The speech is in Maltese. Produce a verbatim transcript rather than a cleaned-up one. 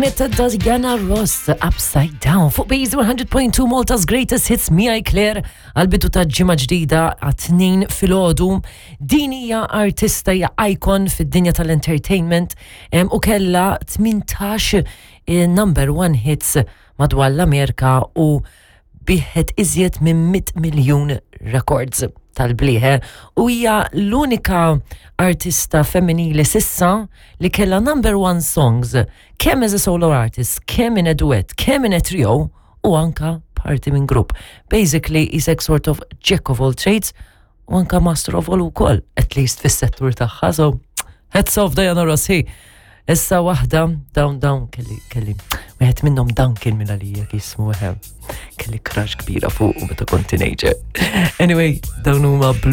Kienet ta' Diana Ross, Upside Down, fuq Base one hundred point two, Malta's Greatest Hits, miegħi Claire, għal-bidu ta' ġimgħa ġdida għat-tnejn filgħodu. Din hija artista, hija icon fid-dinja tal-entertainment em, u kella tmintax eh, number one hits madwar l-Amerika u biegħet iżjed minn mitt miljun records tal-bliħe u hija l-unika artista femminili s'issa li kella number one songs kemm as a solo artist, kemm in a duet, kemm in a trio u anka parti minn grupp. Basically, is a sort of jack of all trades u anka master of all ukoll, at least fis-settur tagħha. So, hats off, Diana Ross. Issa waħda, dawn dawn kelli kelli, wieħed minnhom dawn kien minn għalija jismu, kelli crush kbira fuq u meta kont teenager. Anyway, dawn huma Blue